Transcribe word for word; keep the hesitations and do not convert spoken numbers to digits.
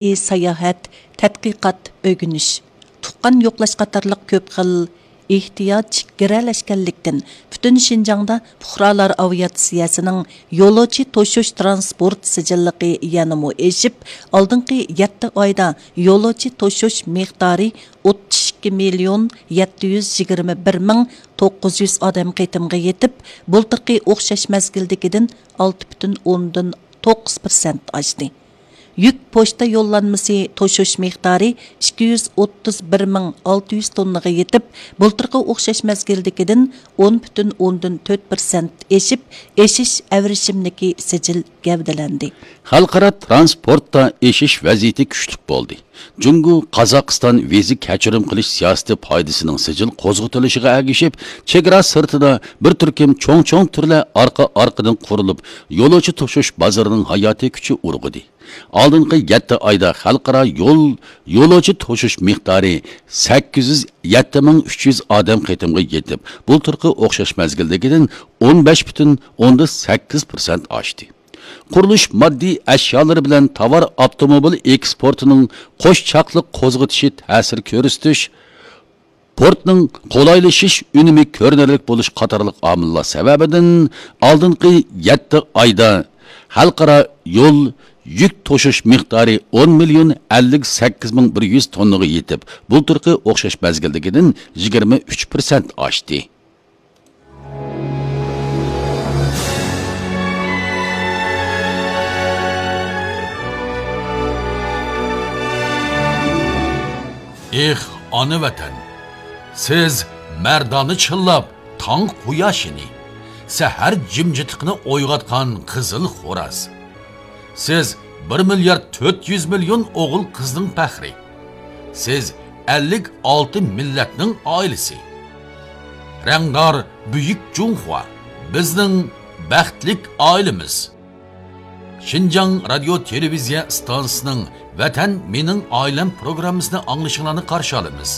ساياھەت، تەتقىقات، ئۆگىنىش، تۇغقان يوقلاش قاتارلىق كۆپ خىل ئېھتىياج گىرەلەشكەنلىكتىن، پۈتۈن شىنجاڭدا پۇقرالار ئاۋىئاتسىيەسىنىڭ يولۇچى توشۇش تىرانسپورت سىجىللىقى يەنىمۇ ئېشىپ، ئالدىنقى يەتتە ئايدا يولۇچى توشۇش مىقدارى ئوتتۇز ئىككى مىليون يەتتە يۈز يىگىرمە بىر مىڭ توققۇز يۈز ئادەم قېتىمغا يېتىپ، بۇلتۇرقى ئوخشاش مەزگىلدىكىدىن ئالتە پۈتۈن ئوندىن توققۇز پىرسەنت ئاشتى. يۈك پوچتا يوللانمىسى توشۇش مىقدارى ئىككى يۈز ئوتتۇز بىر مىڭ ئالتە يۈز توننىغا يېتىپ، بۇلتۇرقى ئوخشاش مەزگىلدىكىدىن ئون پۈتۈن ئوندىن تۆت پىرسەنت ئېشىپ، ئېشىش ئەۋرىشىملىكى سىجىل گەۋدىلەندى. خەلقئارا تىرانسپورتتا ئېشىش ۋەزىيىتى كۈچلۈك بولدى. جۇڭگو، قازاقىستان ۋىزا كەچۈرۈم قىلىش سىياسىتى پايدىسىنىڭ سىجىل قوزغىتىلىشىغا ئەگىشىپ، چېگرا سىرتىدا بىر تۈركۈم چوڭ-چوڭ تۈرلەر ئارقا-ئارقىدىن قۇرۇلۇپ، يولۇچى توشۇش بازىرىنىڭ ھاياتىي كۈچى ئۇرغۇدى. ئالدىنقى يەتتە ئايدا خەلقئارا يول، يولۇچى توشۇش مىقدارى سەككىز يۈز يەتتە مىڭ ئۈچ يۈز ئادەم قېتىمغا يېتىپ، بۇلتۇرقى ئوخشاش مەزگىلدىكىدىن ئون بەش پۈتۈن ئوندىن سەككىز پىرسەنت ئاشتى. قۇرۇلۇش ماددىي ئەشيالىرى بىلەن تاۋار ئاپتوموبىل ئېكسپورتىنىڭ قوش چاقلىق قوزغىتىشى تەسىر كۆرسىتىش، پورتنىڭ قولايلىشىش ئۈنۈمى كۆرۈنەرلىك بولۇش قاتارلىق ئامىللار سەۋەبىدىن، ئالدىنقى يەتتە ئايدا خەلقئارا يول يۈك توشۇش مىقدارى ئون مىليون ئەللىك سەككىز مىڭ بىر يۈز توننىغا يېتىپ، بۇلتۇرقى ئوخشاش مەزگىلدىكىدىن يىگىرمە ئۈچ پىرسەنت ئاشتى. ئېھ، ئانا ۋەتەن! سىز مەردانە چىللاپ تاڭ قۇياشىنى، سەھەر جىمجىتلىقىنى ئويغاتقان قىزىل خوراز. سىز بىر مىليارد تۆت يۈز مىليون ئوغۇل قىزنىڭ پەخرى. سىز ئەللىك ئالتە مىللەتنىڭ ئائىلىسى. رەڭدار بۈيۈك جۇڭخۇا، بىزنىڭ بەختلىك ئائىلىمىز. شىنجاڭ رادىيو تېلېۋىزىيە ئىستانسىسىنىڭ ۋەتەن مېنىڭ ئائىلەم پروگراممىسىنى ئاڭلىشىڭلارنى قارشى ئالىمىز.